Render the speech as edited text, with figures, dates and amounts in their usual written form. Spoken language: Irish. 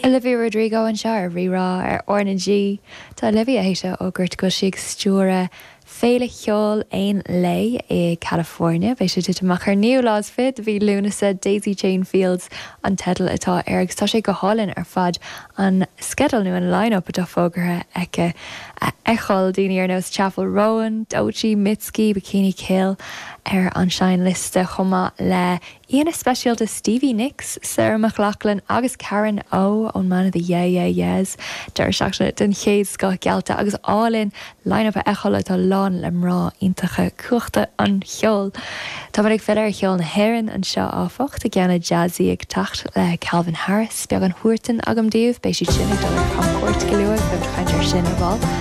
Olivia Rodrigo anseo ar Rí-Rá ar R na G. Tá Olivia théis a fhógairt go bhfuil sí ag stiúradh Féile Cheoil Aon Lae i California. Beidh sé ag titim amach ar an naoú lá is fiche de mhí Lúnasa. Daisy Chain Fields an teideal atá air agus tá sé go hálainn ar fad an sceideal nó an line-up atá fógartha aici a fheiceáil. Daoine ar nós Chappell Roan, Doechii, Mitski, Bikini Kill ar an seinnliosta chomh maith le Aíonna speisialta Stevie Nicks, Sarah McLachlan agus Karen O ón mbanna The Yeah Yeah Yeahs. Deireadh seachtaine den chéad scoth geallta agus álainn line-up a fheiceáil atá lán le mná iontacha cumhachta an cheoil. Táimid ag filleadh ar cheol na hÉireann anseo áfach, tá ceann jazzy ag teacht le Calvin Harris, beagán Huartan agam daoibh, beidh siad sin ag dul ar camchuairt go luath, beimid ag caint air sin ar ball.